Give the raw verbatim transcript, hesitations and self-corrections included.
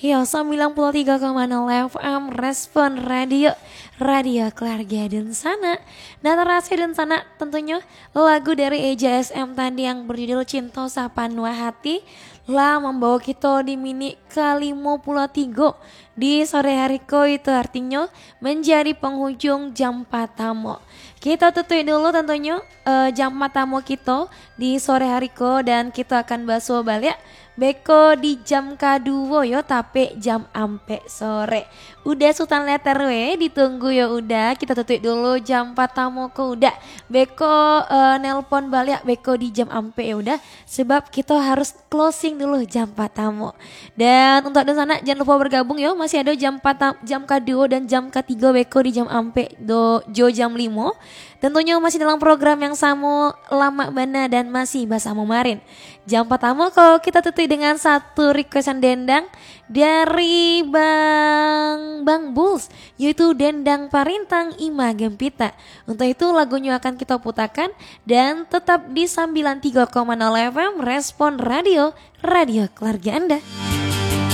Yo, sembilan puluh tiga koma nol F M Respon Radio, radio keluarga dunsanak. Nah, tarasa dunsanak, tentunyo lagu dari Eja S M tadi yang berjudul Cinto Sapanuah Hati lah mambawa kito di minik ka limo puluah tigo di sore hari ko, itu artinyo menjadi penghujung jam patamo. Kito tutuik dulu tentunyo, eh, jam patamo kito di sore hari ko, dan kito akan basuo baliak beko di jam kaduo yo, tapek jam ampek sore. Uda Sutan Letter we, ditunggu yo Uda. Kito tutuik dulu jam patamo ko Uda. Beko, eh, nelpon baliak beko di jam ampek yo Uda, sebab kito harus closing dulu jam patamo. Dan untuk dunsanak, jangan lupa bergabung yo, masih ado jam patamo, jam kaduo dan jam katigo beko di jam ampek do, jo jam limo. Tentunyo masih dalam program yang samo, Lamak Bana, dan masih basamo Marin. Jam patamo ko kito tutuik dengan satu requestan dendang dari Bang, Bang Bulls, yaitu dendang Parintang Ima Gempita. Untuk itu, lagunyo akan kito putakan, dan tetap di sembilan tiga koma nol F M Respon Radio, radio keluarga Anda.